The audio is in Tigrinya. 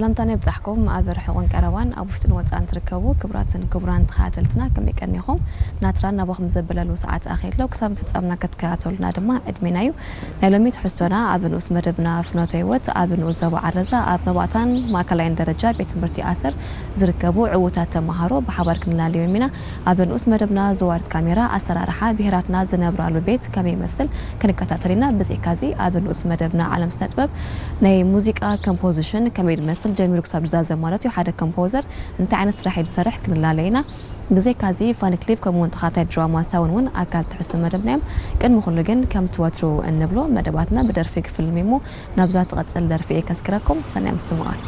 ሰላምታና ይብጻሕኩም። ኣብ ርሑቕን ቀረባን፣ ኣብ ውሽጥን ወጻእን ትርከቡ ክቡራትን ክቡራን ተኸታተልትና፣ ከመይ ቀኒኹም? ናትራን ናባኹም ዘበለሉ ሰዓት ኣኺሎ። ክሳብ ፍጻምና ክትከታተሉና ድማ ዕድሜና እዩ። ናይ ሎሚ ትሕዝቶና ኣብ ንኡስ መደብና ፍኖተ ህይወት ኣብ ንኡስ ዞባ ዓረዛ ኣብ መባእታን ማእከላይን ደረጃ ቤት ትምህርቲ ኣሰር ዝርከቡ ዕዉታት ተመሃሮ ብሓባር ክንላለዮም ኢና። ኣብ ንኡስ መደብና ዘዋርድ ካሜራ ኣሰራርሓ ብሄራትና ዝነብራሉ ቤት ከመይ ይመስል ክንከታተል ኢና። ብዘይካዚ ኣብ ንኡስ መደብና ዓለም ስነ ጥበብ ናይ ሙዚቃ ኮምፖዚሽን ከመይ ዝመስል ጀሚሩ ክሳብ ዝዛዘም ማለት እዩ። ሓደ ኮምፖዘር እንታይ ዓይነት ስራሕ እዩ ዝሰርሕ ክንላለ ኢና። ብዘይካዚ ፋኒ ክሊፕ ከምኡ እውን ተኻታይ ድራማ ሳውን እውን ኣካል ትሕዝቶ መደብና እዮም። ቅድሚ ኩሉ ግን ከምቲ ወትሩ እንብሎ መደባትና ብደርፊ ክፍልም እሞ ናብዛ ትቐጽል ደርፊ እየ ከስክረኩም። ሰናይ ምስትምቓር።